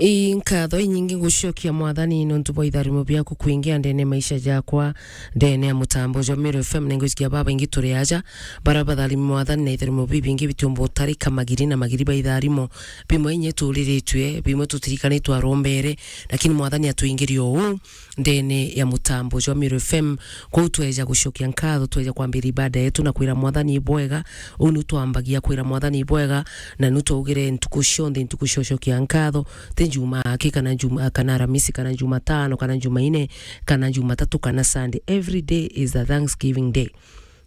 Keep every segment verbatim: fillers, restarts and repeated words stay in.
I nkatho inyingi ngucokia Mwathani nontu bwa itharimo biaku kwingia ndene maisha jakwa, ndene ya mutambo jwa Meru F M. Ningwicikia babaingi turi aja, bara batharimi Mwathani na itharimo bibingi bitiumba utarika magiri na magiri ba itharimo. Bimwe inye turiritue, bimwe tutirikanitwe arombere, lakini Mwathani atwingirie uu ndene ya mutambo jwa Meru F M. Kwou tweja gucokia nkatho, tweja kwambira ibada yetu na kwira Mwathani ibwega. Uu nu twambagia kwira Mwathani ibwega, na nu twaugire ntuku cionthe, ntuku cia gucokia nkatho, ti Jumaa aki, kana Juma, kana Aramisi, kana Jumatano, kana Jumaine, kana Jumatatu, kana Sunday. Every day is a Thanksgiving day.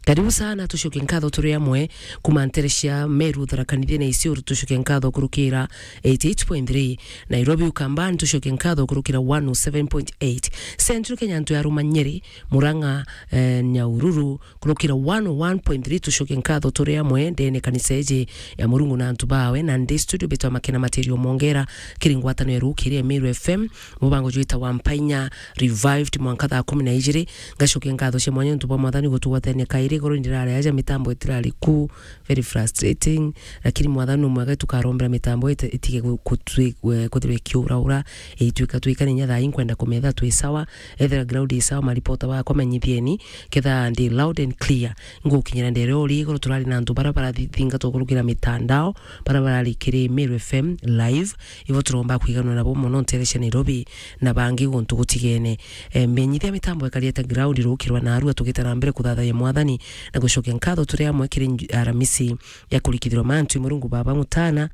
Karibu sana, tucokie nkatho turi amwe kuma ntere cia Meru, Tharaka Nithi na Isiolo, tucokie nkatho kurukira eighty eight point three. Nairobi, Ukambani, tucokie nkatho kurukira one oh seven point eight. Central Kenya, antu ya Ruma, Nyeri, Murang'a, eh, Nyahururu, kurukira one oh one point three, tucokie nkatho turi amwe ndene kanisa iji ya Murungu na antu bawe. Na ndi studio betwa Makena Material Mongera, kiri ngwatano ya rukiri ya Meru F M, mubango jwita wa Mpainya Revived mwanka thaa kumi na ijiri. Ngacokia nkatho cia mwanya nontu bwa Mwathani gutugwatania kairi, igoro ndirari aja, mitambo itirari ku, very frustrating, lakini Mwathani ni mwega, tukarombera mitambo ite-, itige gu-, kutwi-, we-, kuthirwa ikiuraura, itwika twikane inya thaa ii nkwenda kumetha twi sawa, ethira ground i sawa, maripota bakwa menyithieni, ketha ndi loud and clear. Ngukinyira ndere uri igoro, turari na antu bara barathingatwa kurukira mitandao, bara barari kiri Meru F M live, ibo turomba kwiganwa nabo mono ntere cia Nairobi na bangi guntu gutigene. E, menyithia mitambo ikari ata ground rukirwa narua tugita na mbere kuthathayia Mwathani na gucokia nkatho turi amwe kiri nju-, Aramisi ya kurikithirwa mantu i Murungu Baba Mutana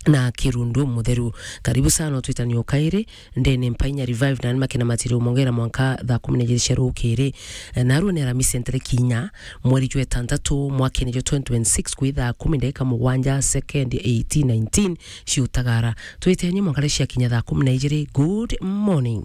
na Kirundu Mutheru. Karibu sana utwitanie o kairi ndene Mpainya Revive na ni Makena Material Mongera mwanka thaa kumi na ijiri cia rukiri. E, narua ni Aramisi ntere kinya mweri jwa itantatu mwakene jwa twenty twenty-six kwi thaa kumi ndagika mugwanja second eighteen nineteen ciutagara. Twitenie mwanka cia kinya thaa kumi na ijiri. Good morning.